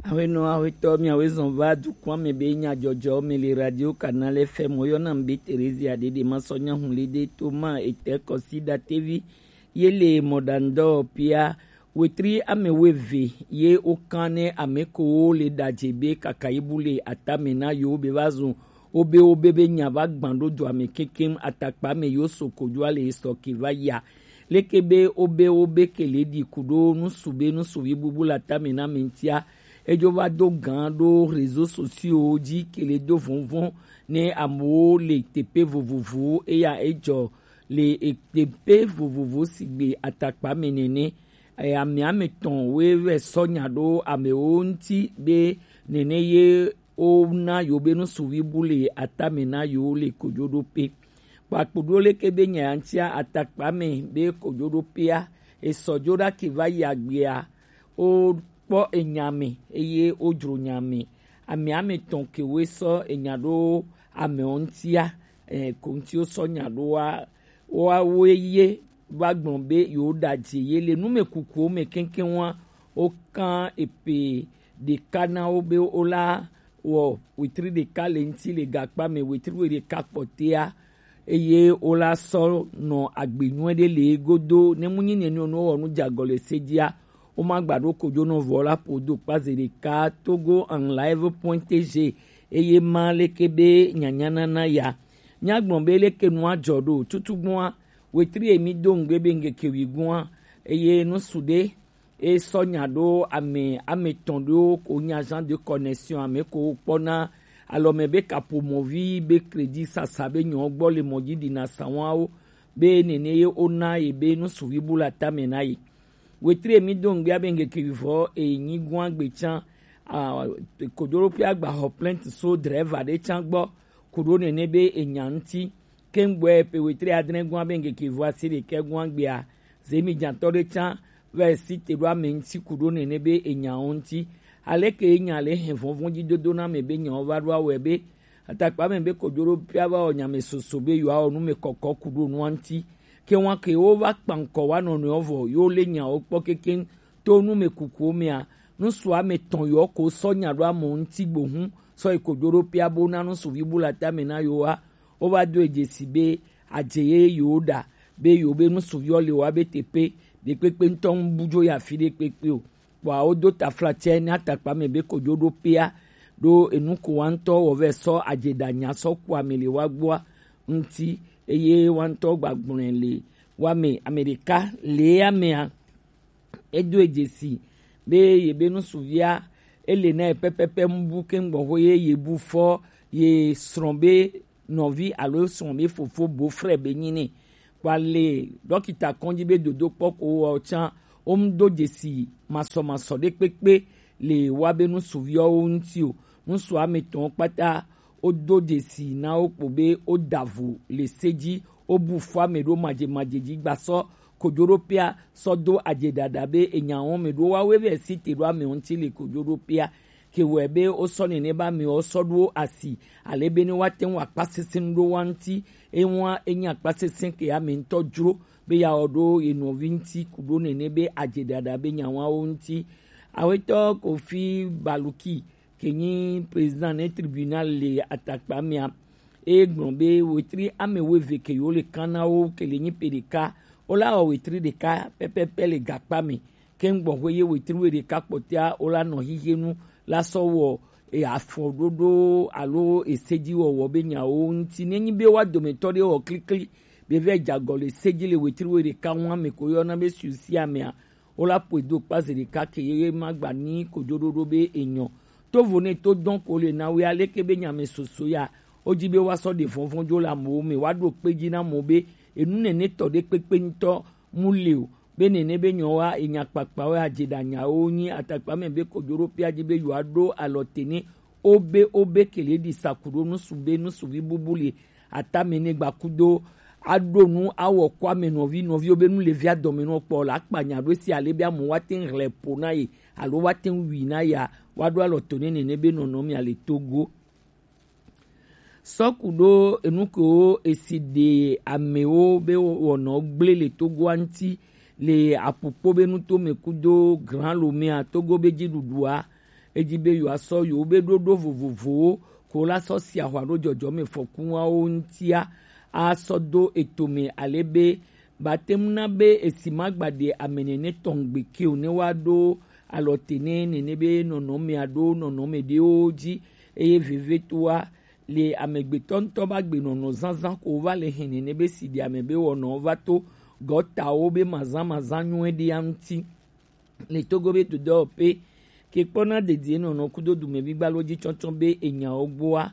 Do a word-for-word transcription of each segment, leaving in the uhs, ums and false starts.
Awenɔ awetɔ miawe zɔn va dukɔn me be nyadzɔdzɔ me le radio Canal F M, woyɔna mi be Theresia Dede Masɔnya Hunlede Toma etɛ kɔsi datevi ye le mɔdandɔ pia wetri ame weve ye wokan ne ame ko le ɖadze be kaka ibu le atame na yo be va zun wobe wobe be nya va gban ɖo dua me kekem atakpa me yo so kojoa le sɔ ke va ya. Leke be wobe wobe kele ɖi kuɖo nusu be nusuvi bubu le atame na me ŋutia, edzo va do gan ɖo réseaux sociaux dzi kele do vɔnvɔn ne amewo le teƒe vovovowo eya edzɔ le teƒe vovovo sigbe atakpa me nene. Ame ame tɔn woe vɛ sɔ nya ɖo amewo ŋuti be nene ye wona yo be nusuvi bu le atame na yo le kojoɖoƒe. Kpakpo ɖo leke be nya ya ŋutia atakpa me be kojoɖoƒea esɔ dzo ɖa ke va yi agbea, wokpɔ enya me eye wodzro nya me. Ame ame tɔn ke woe sɔ enya ɖo amewo ŋutia, eh, ko ŋuti wosɔ nya ɖoa, woawoe ye va gblɔ be yewo ɖadze ye le numekukuwo me keŋkeŋ wa, wokan epe ɖeka na wo be wola wɔ wetri ɖeka le ŋuti le gakpa me, wetri wo ɖeka kpɔtea, eye wola sɔ nɔ agbe nyuie ɖe le godo. Ne mu nyi nene o, ne wowɔ nu dze agɔ le se dzia, woma gba ɖo kojo nɔ vɔ la ƒo do kpa ze ɖeka togo en live point T G, eye ma leke be nyanyanana ya. Nyagblɔ be leke nua dzɔ ɖo tutugbɔa, wetri emi do ŋgbe be ŋgeke wi gua, eye nusu ɖe e sɔ nya ɖo ame ame tɔn ɖewo ko nya agent de connexion ame ko kpɔna alɔme be kaƒomɔvi be crédit sasa be nyɔ gbɔ le mɔ dzi ɖina sawawo be nene ye wona ye be nusuvi bu le atame na ye. Wetri emi do ŋgbia be ŋgeke vivɔ e nyi gua gbe tsan, a, koɖoɖoƒe agba xɔ plainte so driver ɖe tsan gbɔ kuɖo nene be enya ŋuti. Kengboe pe wetri adre gua be ŋgeke vɔ asi ɖekɛ gua gbea, zemi dzãtɔ ɖe tsã va yi si te ɖo ame ŋuti ku ɖo nene be enyawo ŋuti. Aleke ye nya le hɛn vɔvɔ̃ dzi dodo na ame be nyawo va ɖo awɔe be atakpa me be kojo ɖo pia va wɔ nya me soso be yewoawɔ nu me kɔkɔ ku ɖo nua ŋuti. Ke wa ke wo va kpa ŋkɔ wa nɔnɔewo vɔ yewo le nyawo kpɔ kekeŋ to nu me kukuwo mea, nusu ame tɔn yewo ko sɔ nya ɖo amewo ŋuti gbo hu sɔ yi kojo ɖo pia bo na nusuvi bu le atame na yewoa. Wova do e dzesi be adze ye yewo ɖa be yewo be nusuviwo le wa be teƒe ɖekpekpe ŋutɔ ŋu bu dzo yi afi ɖekpekpe o. Kpɔa wodo taflatse ne atakpa me be kojo ɖo pea ɖo enu ko wa ŋutɔ wɔ vɛ sɔ adze ɖa nya sɔ ku ame le wa gbɔa ŋuti, eye wa ŋutɔ gba gblɔe le wa me ame ɖeka le amea. Edo e dzesi be ye be nusuvia ele na ye pɛpɛpɛ mu bu ke ŋgbɔ ho ye ye bu fɔ ye srɔ̃ be nɔvi alo srɔ̃ be fofo bo frɛ be nyi nɛ. Kpa le dɔkita kɔndzi be dodo kpɔ ko wɔ tsã wo mu do dzesi masɔmasɔ ɖe kpekpe le wa be nusuviawo ŋuti o. Nusu ame tɔn kpata wodo dzesi na wo kpo be woda vo le se dzi, wobu fɔ ame ɖo madzemadze dzi gba sɔ kojo ɖo pea sɔ do adze ɖaɖa be enya wɔm me ɖo woawoe vɛ si te ɖo ame ŋuti le kojo ɖo pea. Ke wɔe be wosɔ nene be amewo sɔ ɖo asi ale be ne woate ŋu akpa sesẽ ɖo wa ŋuti. Ewa enye akpa sesẽ ke ame ŋutɔ dzro be yeawɔ ɖo ye nɔvi ŋuti ku ɖo nene be adze ɖaɖa be nya wɔm wo ŋuti. Awetɔ Kofi Baluki ke nyi président ne tribunal le atakpa mea, e gblɔ be wetri ame wuieve ke yewo le kan na wo ke le nyi pe ɖeka, wola wɔ wetri ɖeka pɛpɛpɛ le gakpa me. Ke ŋgbɔ hwe ye wetri wuiɖeka kpɔtɔa wola nɔ hihienu la sɔ wɔ e afɔɖoɖo alo esedziwɔwɔ be nyawo ŋuti. Nenyi be wa dometɔ ɖe wɔ klikli be vɛ dze agɔ le se dzi le wetri wuiɖeka ŋu ame ko yɔna be susi amea, wola ƒoe do kpa zi ɖeka ke ye ma gba ni kojoɖoɖo be enyɔ. Tovo ne to dɔn ko le na we aleke be nya me soso ya, wodzi be woasɔ ɖe vɔvɔ̃ dzo le amewo me, woaɖo kpe dzi na amewo be enu nene tɔ ɖe kpekpe ŋutɔ mu le o. Be nene be nyɔwa enya kpakpawo adze ɖe anyawo nyi atakpa me be kojoɖoƒea dzi be yewoaɖo alɔ te ne wobe wobe kele ɖi saku ɖo nusu be nusuvi bubu le atame ne gbakudo aɖo nu awɔ kɔ ame nɔvi nɔviwo be nu le via dɔme nɔ kpɔ la akpa nya ɖo si ale be amewo woate ŋu hlɛ ƒo na ye alo woate ŋu wui na yea, woaɖo alɔ to ne nene be nɔnɔmea le Togo. Sɔku ɖo enu kewo esi ɖe amewo be wɔnɔ gblẽ le Togoa ŋuti le aƒukpo be nuto me kudo Grand Lomea Togo be dziɖuɖua Eji be yewoasɔ yewo be ɖoɖo vovovowo ko la sɔ si ahwa ɖo jɔjɔmɛ fɔkuwawo ŋutia asɔ do eto me ale be batemu na be esi magba ɖe ame nɛnɛ tɔn gbe ke o ne wa ɖo alɔ te ne nɛnɛ be nɔnɔmea ɖo nɔnɔme ɖewo ji eye vevetoa le amegbetɔ ŋutɔ ba gbe nɔnɔ zazã ko va le hɛn nɛnɛ be si ɖe ame be wɔnɔ va to gɔtawo be mazã mazã nyuie ɖia ŋuti. Le Togo be dodɔ pe ke kpɔna dedie nɔnɔ kudo dumevi gbalo ji tsɔtsɔ be enyawo gboa.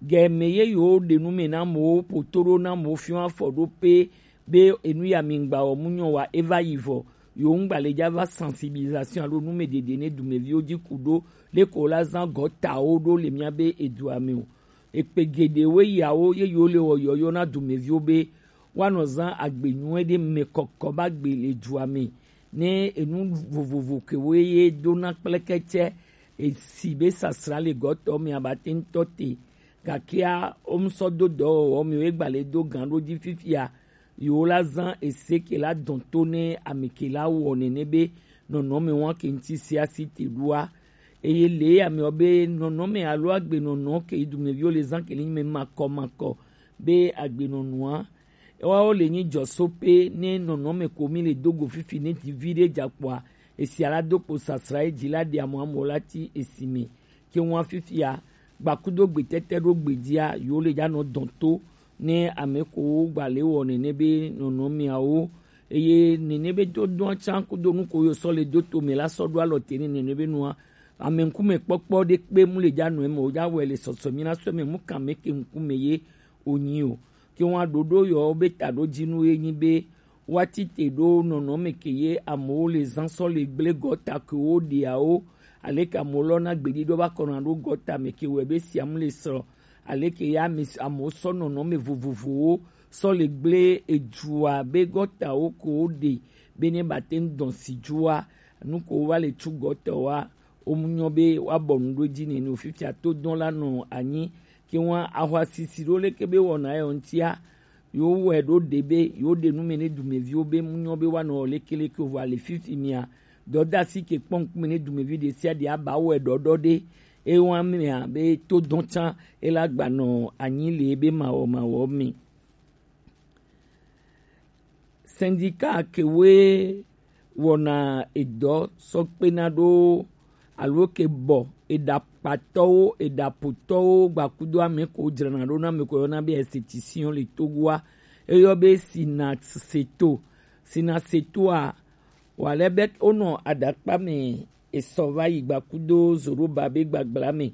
Gɛmɛ ye yewo ɖe nu me na amewo poto ɖo na amewo fiɔ afɔ ɖo pe be enu ya mi ŋgba wɔ mu nyɔ wa eva yi vɔ. Yewo ŋgba le dza va sensibilisation alo nu me ɖeɖe ne dumeviwo ji ku ɖo leko la zã gɔtawo ɖo le mía be edua me o. Ekpe geɖewo yawo ye yewo le wɔ yɔyɔ na dumeviwo be woanɔ zã agbe nyuie ɖe mɛ kɔkɔ ba gbe le dua me. Ne enu vovovo ke wo ye do na kplekɛtsɛ esi be sasra le gɔtɔ me abate ŋutɔ te. Gakea wo ŋusɔ do dɔwɔwɔ me wo egba le do gan ɖo dzi fifia. Yewo la zã ese ke la dɔn to ne ame ke la wɔ nɛnɛ be nɔnɔme wa ke ŋuti se asi te ɖoa. Eye le amewo be nɔnɔme alo agbenɔnɔ ke yi dumeviwo le zã ke le nyi me makɔ makɔ be agbenɔnɔa. Ewawo le nyi jɔso pe ne nɔnɔme ko mi le do go fifi ne ti vi ɖe dza kpɔa, esia la do kpo sasra edzi la ɖe amɔ amɔ la ti esi me. Ke ŋua fifia gbakudo gbetete ɖo gbedzia yewo le dza nɔ dɔn to ne ame ko wo gba le wɔ nɛnɛ be nɔnɔmeawo. Eye nɛnɛ be dodɔa tsã kudo nu ko yo sɔ le do to me la sɔ ɖo alɔ te ne nɛnɛ be nua ame ŋkume kpɔkpɔ ɖe kpe mu le dza nɔ eme o dza wɔe le sɔsɔ mi na sɔ me mu kan me ke ŋkume ye o nyi o. Ke ŋua ɖoɖo yɔ be taɖo dzinu ye nyi be woati te ɖo nɔnɔme ke ye amewo le zã sɔ le gble gɔta ke wo ɖeawo. Aleke amewo lɔ na gbeɖiɖɔ va kɔna ɖo gɔta me ke wɔe be siam le srɔ̃. Aleke ya ame s- amewo sɔ nɔnɔme vovovowo sɔ le gble edzua be gɔtawo ko wo ɖe be ne bate ŋu dɔn si dzoa nu ko wo va le tsu gɔtawoa wo mu nyɔ be woabɔ nu ɖo edzi nɛnɛ o. Fifia to dɔn la nɔ anyi ke ŋua ahwa sisi ɖo leke be wɔna yɔ ŋutia. Yewo wɔe ɖo ɖe be yewo ɖe nu me ne dumeviwo be mu nyɔ be woanɔ lekeleke o vɔ ale fifi mia dɔdasi ke kpɔ ŋkume ne dumevi ɖe sia ɖe aba wɔe ɖɔɖɔ ɖe. Ewa mea be to dɔn tsã ela gbanɔ anyi le ebe mawɔ mawɔ me. Sindika kewoe wɔna edɔ sɔ kpena ɖo alo ke bɔ eɖakpatɔwo eɖapotɔwo gbakudo ame ko dzrana ɖo na ame ko yɔna be esthéticien le Togoa eyɔ be sinaseto. Sinaseto a wale be wonɔ aɖakpa me esɔ va yi gbakudo Zoroba be gbagbla me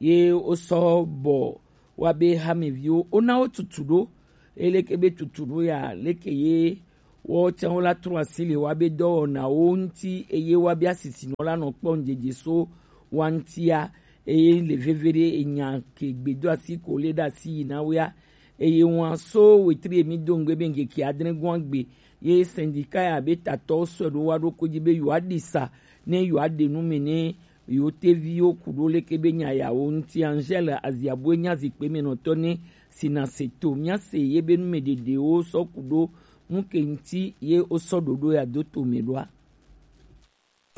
ye wosɔ bɔ wa be hameviwo wona wo tutu ɖo. Eleke be tutu ɖo ya leke ye wo tsã wo la trɔ asi le wa be dɔwɔnawo ŋuti eye wa be asisinɔ la nɔ kpɔ ŋdzedze so wa ŋutia. Eye le veve ɖe enya ke gbedo asi ko le ɖe asi yi na wea. Eye ŋua so wetri emi do ŋgbe be ŋkeke adre gɔ̃a gbe ye sindika ya be tatɔwo sɔe ɖo wa ɖo ko dzi be yewoa ɖi sa ne yewoa ɖe nu me ne yewo teviwo ku ɖo leke be nya yawo ŋuti. Angèle Aziabue nya zikpe me nɔtɔ ne sinaseto mía se ye be nu me ɖeɖewo sɔ ku ɖo nu ke ŋuti ye wo sɔ ɖoɖo ya do to me ɖoa.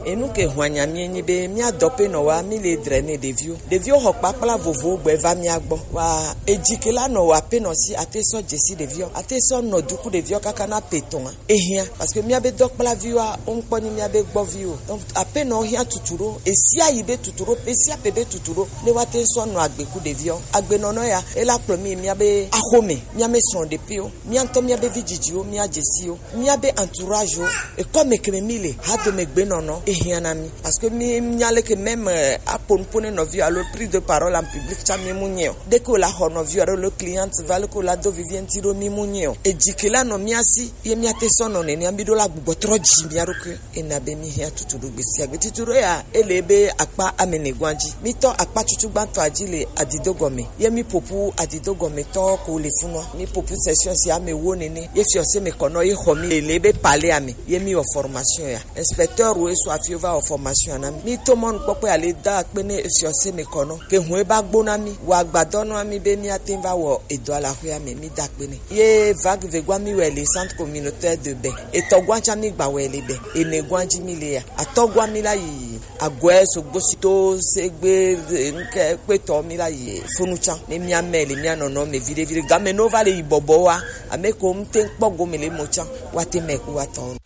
Enu ke hwanya mi enyi be mía dɔpenɔwa mi le dre ne ɖeviwo. Ɖeviwo xɔ kpakpla vovowo gbɛ va mía gbɔ. Wa edzi ke la nɔ wa apenɔ si ate sɔ dzesi ɖeviwo. Ate sɔ nɔ duku ɖeviwo kaka na pe tɔn. Ehiã, parce que mía be dɔkplaviwoa, wo ŋkpɔ nyi mía be gbɔviwo. Donc, apenɔwo hiã tutu ɖo, esi ayi be tutu ɖo, pe sia pe be tutu ɖo, ne woate sɔ nɔ agbe ku ɖeviwo. Agbenɔnɔ ya, ela kplɔ mi mía be axome, mía me srɔ̃ɖeƒewo, mía ŋutɔ mía be vidzidziwo, mía dzesiwo, mía be entouragewo, ekɔ me ke me mi le, ha dome gbenɔnɔ, ehiã na mi. Parce que mi nya leke même, euh, apo nuƒo ne nɔviwo alo prise de parole en public tsã mi mu nyɛ o. Dès que la xɔ nɔviwo alo le cliente va leke la do vivie ŋuti ɖo mi mu nyɛ o. Edzi ke la nɔ mía si, ye míate sɔ nɔ nenea mi ɖo la gbugbɔ trɔ dzi mía ɖokui. Ena be mi hiã tutu ɖo gbe sia gbe. Tutu ɖo ya, ele be akpa ame ne gɔ̃a dzi. Mi tɔ akpa tutu gbãtɔa dzi le adido gɔme. Ye mi ƒoƒu adido gɔme tɔ ko le funua. Mi ƒoƒu session sia ame wo nene. Ye fiɔse me kɔnɔ ye xɔ mi le be palais ame. Ye mi wɔ formation ya. Inspecteur wo eso afi va wɔ formation na mi. Mi to mɔnukpɔkpɔ ya le da akpe ne fiɔse me kɔnɔ. Ke hu e ba gbo na mi. Wa agbadɔ na mi be mi ate va wɔ edɔ la xɔa me. Mi da akpe ne. Ye vague vegua mi wɛ le centre communautaire de bain. Etɔgua tsa mi gba wɛ le bain. Enegua dzi mi le ya. Atɔgua mi la yi Agɔɛ sogbo si to segbe nke kpetɔ mi la yi funu can. Ne mia mɛ le mia nɔnɔ me viɖe viɖe game no va le yi bɔbɔ wa. Ame ko ŋte kpɔ gome le mo can. Wa te mɛ ku wa tɔn.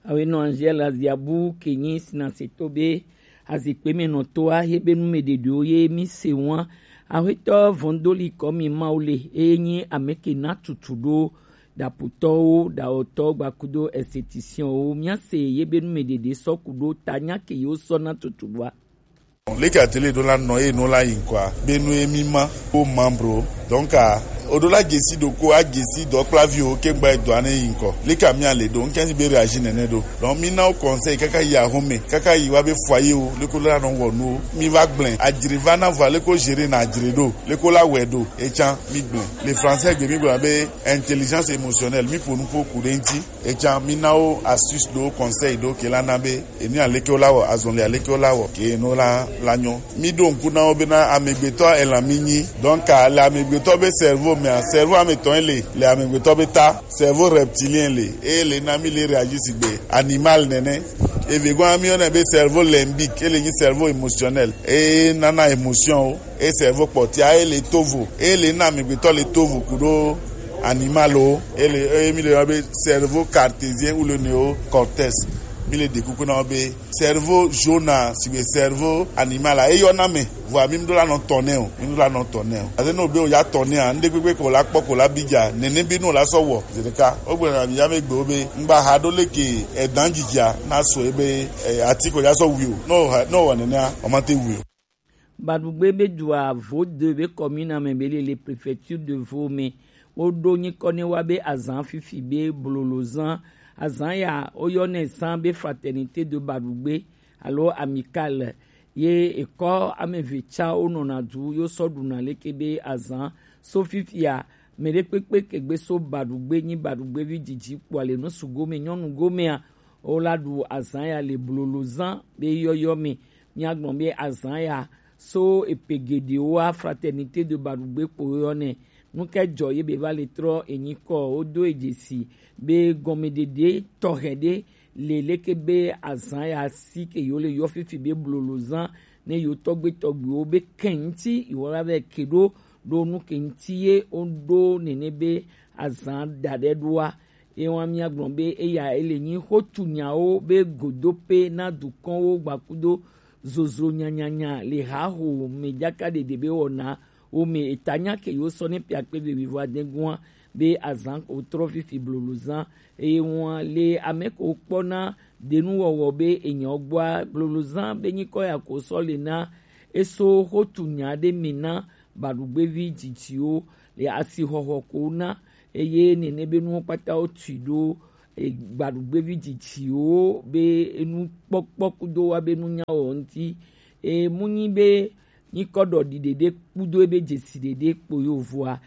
Awe nɔ Angel Aziabu ke nyi sinaseto be azikpe me nɔ to a he be nu me ɖeɖewo ye mi se wa. Ahwetɔ vɔndoli kɔ mi mawu le eye nyi ame ke na tutu ɖo ɖapotɔwo, ɖawɔtɔwo gbakudo esthéticienwo. Mia se ye be nu me ɖeɖe sɔ ku ɖo ta nya ke yewo sɔ na tutu ɖoa. Leke atelier ɖo la nɔ eye no la yi ŋkɔa be nu ye mi ma ko membre. Donc a o ɖo la gesi ɖo ko a gesi dɔkplaviwo ke gba edɔa ne yi ŋkɔ. Leke mi ale ɖo ŋkɛnsi be réagir nene ɖo. Donc mi na wo conseil kaka yi ahome, kaka yi wa be foyer wo, leko la nɔ wɔ nuwo. Mi va gblẽ, adzre va na vɔ leko gérer na adzre ɖo, leko la wɛ ɖo. Ecan mi gblẽ. Le français gbe mi gblɔ be intelligence émotionnelle, mi ƒo nu ƒo ku ɖe ŋti. Ecan mi na wo astuce ɖo, conseil ɖo ke la na be enu aleke wo la wɔ, azɔli aleke wo la wɔ ke no la la nyɔ. Mi ɖo ŋku na wo bena amegbetɔ elan mi nyi. Donc a le amegbetɔ be cerveau mea, cerveau ame tɔn le, le amegbetɔ be ta, cerveau reptilien le, e le na mi le réagir sigbe animal nene. Eve gɔn mi yɔna be cerveau limbique, e le nyi cerveau émotionnel, e nana émotion o. E cerveau kpɔtia e le tovo, e le na amegbetɔ le tovo kuɖo animal o. E le e mi le yɔ be cerveau cartésien ou le néocortex. Mi le ɖe kuku na wo be cerveau jaune a, sigbe cerveau animal a, eyɔna me. Vɔa mi ɖo la nɔ tɔn nɛ o, mi ɖo la nɔ tɔn nɛ o. Ate no be o ya tɔn nɛ a, ŋɖe kpekpe ko la kpɔ ko la bi dza, nene bi no la sɔ wɔ. Zedeka o gbe na bi ya me gbe o be ŋgba ha ɖo leke edan dzidzia na so ebe e, ati ko ya sɔ wi o. No ha no wɔ nene a, o ma te wi o. Baɖugbe be dua Vodeu be commune me be le le préfecture de Vaud me. Woɖo nyikɔ ne wa be azan fifi be blolozan. Azan ya woyɔnɛ zan be Fraternité de Baɖugbe alo Amicale. Ye ekɔ ame eve ca wonɔna du yo sɔ ɖuna leke be azan. So fifia, mɛ ɖe kpekpe ke gbe so Baɖugbe nyi Baɖugbevi didi kpoa le nusu gome nyɔnu gomea, wo la ɖu azan ya le blolozan be yɔyɔ me. Míagblɔ be azan ya so epe geɖewoa Fraternité de Baɖugbe kpo yɔ nɛ. Nu ke jɔ ye be va le trɔ enyikɔ, wodo e dzesi be gɔmeɖeɖe tɔxɛ ɖe le leke be azan ya si ke yo le yɔ fifi be blolozan ne yo tɔgbe tɔgbewo be kɛn ŋti yo la vɛ ke ɖo ɖo nu ke ŋti ye woɖo nene be azan da ɖe ɖoa. Ewa míagblɔ be eya ele nyi xotu nyawo be godope na dukɔnwo gbakudo zozro nyanyanya le haho me jaka ɖeɖe be wɔna wo me eta nya ke yo sɔ ne piakpe be wivo adegua be azan ko trɔ fifi blolozan eye wọn le ame ko kpɔna denuwɔwɔ be enyɔ gbɔa blolozan be nyikɔ ya ko sɔ le na eso xotu nya ɖe me na Baɖugbevi dzidziwo le asixɔxɔ ko na eye nene be nuwo kpata wo tui ɖo e, Gbaɖugbevi dzidziwo be enu kpɔkpɔ kudo wa be nunya wɔ ŋti. E, mu nyi be nyikɔ ɖɔ ɖi ɖeɖe kudo ebe dzesi ɖeɖe kpo yo vɔa.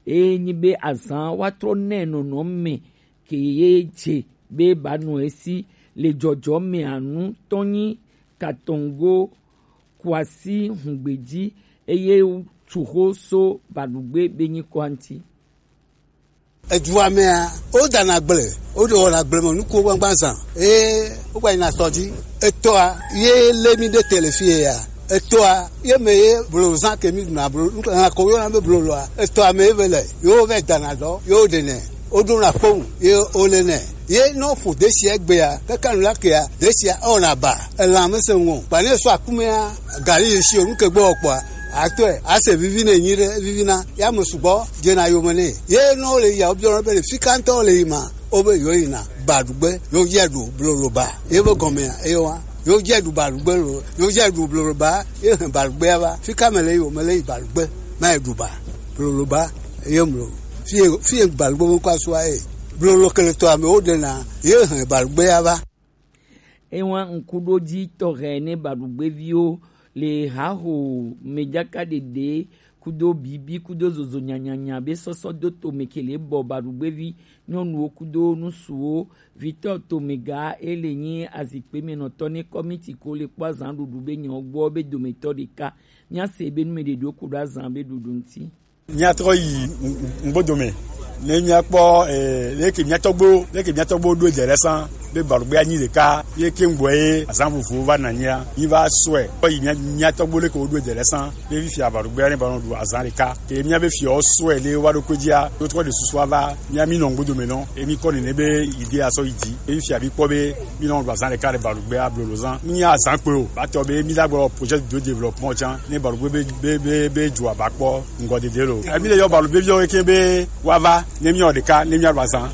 E, nyi be azan wa trɔ nɛ nɔnɔ me ke ye dze be ba nɔ esi le jɔjɔ me anu tɔnyi katɔngo kwasi hungbeji eye tuxo so Baɖugbe be nyikɔ ŋti. Edua mea, wodana gble, woɖe wɔna gble me nukuwo gbagba zã. Eye wogba yina sɔ dzi. Etɔa, ye lé mi ɖe te le fi ye ya. Etɔa, ye me ye blozã ke mi ɖuna blo, lã ko woyɔna be bloloa. Etɔa me ye ve le, ye wovɛ dana dɔ, ye woɖenɛ, woɖona kponu, ye wolenɛ. Ye ne woƒo desia egbea, kaka nu la kea, desia ewɔna ba. Elã mese ŋu o. Kpa ne sɔ akumea, gali ye si o, nu ke gbɔ kpɔa, atɔe, ase vivi ne nyi ɖe, vivina, ya me sugbɔ, dzena yome nɛ. Ye ne wole yia, wobiɔ be le fika ŋutɔ wole yi ma, wobe yewo yina Baɖugbe, yewo dze ɖu bloloba. Ye be gɔmea, eye wa, yewo dze ɖu Baɖugbe lo, yewo dze ɖu bloloba, ye hɛn Baɖugbea va. Fika me le yi o, me le yi Baɖugbe, ma yi ɖu ba, bloloba, ye mlo. Fie, fie Baɖugbe be ŋkɔ asua ye. Blolo ke le tɔ amewo ɖena, ye hɛn Baɖugbea va. Ewa ŋkuɖodzi tɔxɛ ne Baɖugbeviwo le haho mejaka ɖeɖe kudo bibi kudo zozo nyanyanya be sɔsɔ do tome ke le bɔ Baɖugbevi nyɔnuwo kudo nusuwo vitɔ tome ga ele nyi azikpe me nɔtɔ ne kɔmiti ko le kpɔ azan ɖuɖu be nyɔ gbɔ be dometɔ ɖeka. Mía se be nume ɖeɖewo ku ɖo azan be ɖuɖu ŋti. Míatrɔ yi ŋ-, ŋ-, ŋgbodome. Ne míakpɔ, eh, leke mía tɔgbuiwo, leke mía tɔgbuiwo ɖo ede ɖe sã be Balugbe anyi ɖeka, ye ke ŋgbɔ ye azã vovovowo va nɔ anyia, mí va sɔe kpɔ yi mía, mía tɔgbuiwo leke woɖo ede ɖe sã be fifia Balugbea ne va nɔ ɖu azã ɖeka. Ke mía be fiawo sɔe le wova ɖo kpe dzia, wo trɔ ɖe susu ava mía mí nɔ ŋgbodo me nɔ, ye mí kɔ nene be idée asɔ yi dzi. Ye fifia mí kpɔ be mí nɔ ɖu azã ɖeka le Balugbea blolo zã. Mí nya azã kpe o, va tɔ be mí la gbɔ projet de développement tsã, ne Balugbe be, be, be, be dzoa va kpɔ ŋgɔdede lo. Emi le yɔ Balugbe viwo ke be woava, ne míawɔ ɖeka, ne míaɖu azã.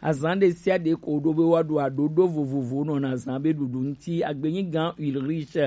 Azã ɖe sia ɖe ko ɖo be woaɖu aɖoɖo vovovowo nɔna azã be ɖuɖu ŋuti. Agbenyi gã Ulrich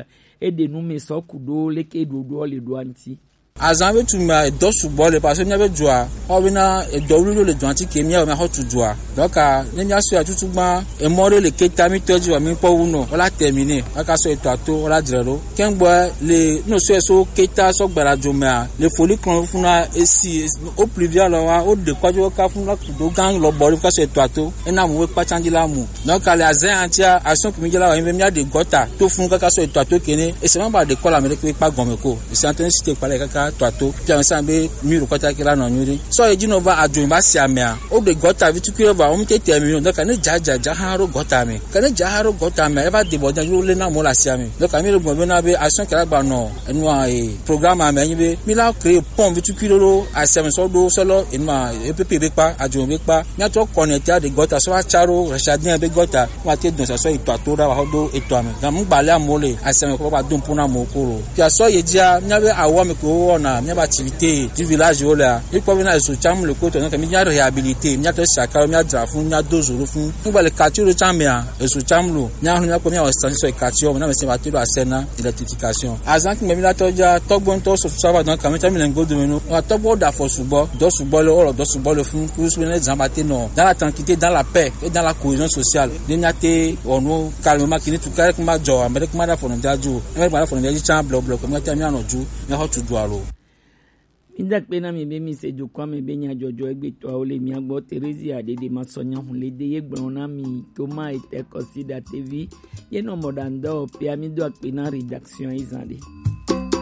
eɖe nu me sɔ ku ɖo leke ɖoɖoa le ɖoa ŋuti. Azã be tu mea, edɔ sugbɔ le, parce que míabe dua, ewɔ bena edɔ wluwluwo le dua ŋuti ke míawɔ míaxɔ tu dua. Donc, ne míasɔe tutugbã, emɔ ɖe le keta mítɔ dzi wa mí kpɔ wu nɔ, wola terminer, wola ka sɔ etɔa to, wola dzre ɖo. Kɛngbɔ le, ne sɔe so keta sɔ gbadadzo mea, le foli klɔn funa esi, o pluvial wa, wo ɖe kɔ dzo ka funa do gã lɔbɔ ɖe ka sɔ etɔa to, ena mu we kpatsa dzi la mu. Donc, le azã ya ŋutia, action ke mí dze la wa, be míaɖe gɔta to funu kaka sɔ etɔa to kene, ese ma ba ɖe kɔ le ame ɖeke kpa gɔme ko. Ese ante si te kpa le kaka tɔa to. Fia me sa be mí ɖo kɔta ke la nɔ nyuie ɖe. Sɔ edzi nɔ va adzo va si amea. O ɖe gɔta vi tukui va, o mi te te mi nɔ. Donc, ne dza dza dza hã ɖo gɔta me. Ke ne dza hã ɖo gɔta me, eva de bɔ dza le na mo le asia me. Donc, mi le gbɔ be na be action ke la gba nɔ, enua, e, programme me nyi be, mi la créer pont vi tukui ɖo ɖo asia me sɔ ɖo sɔ lɔ, enua, E P P be kpa, adzo be kpa. Míatrɔ connecter ɖe gɔta sɔ va tsa ɖo Rachadien be gɔta. Míate dɔn sasɔ etɔa to ɖa va xɔ do etɔa me. Gã mu gbalẽ amewo le aseme kɔ va do ŋku na amewo ko lo. Fia sɔ ye dzia, míabe awɔ me ko wɔna, míabe activité du village wo lea. Míkpɔ be na ezo tsam le ko tɔ, ne ke míaɖe réhabiliter, míatrɔ saka, míadzra fun, míado zo ɖo fun. Mígba le quartier ɖo tsã mea, ezo tsam lo. Míaxlẽ míakpɔ míawɔ station sɔ quartier me, na me se va to ɖo asɛ na électrification. Azã kungbe mi la tɔ dza, tɔgbo ŋutɔ sɔ sɔ va dɔn kame tsã mi le ŋgodo me no. Wa tɔgbo da fɔ sugbɔ, dɔ sugbɔ le, wɔ dɔ sugbɔ le fun, kusu ne zan ba te nɔ. Dans la tranquillité, dans la paix et dans la cohésion sociale. Ne míate wɔ nu calmement, kini tu kare kuma dzɔ, ame ɖe kuma da fɔ nɔ dza dzi o. Ame ɖe kuma da fɔ nɔ dza dzi tsã blɔ blɔ, ko míate míanɔ dzu, míaxɔ tu du alo. Mída akpe na mi be mi se dukɔa me be nyadzɔdzɔ egbetɔawo le mía gbɔ. Theresia Ɖeɖe Masɔnya Hunlede ye gblɔ na mi, Thomas Ete Kɔsiɖa tevi ye nɔ mɔɖaŋudɔ pia. Mído akpe na rédaction yi zã ɖe.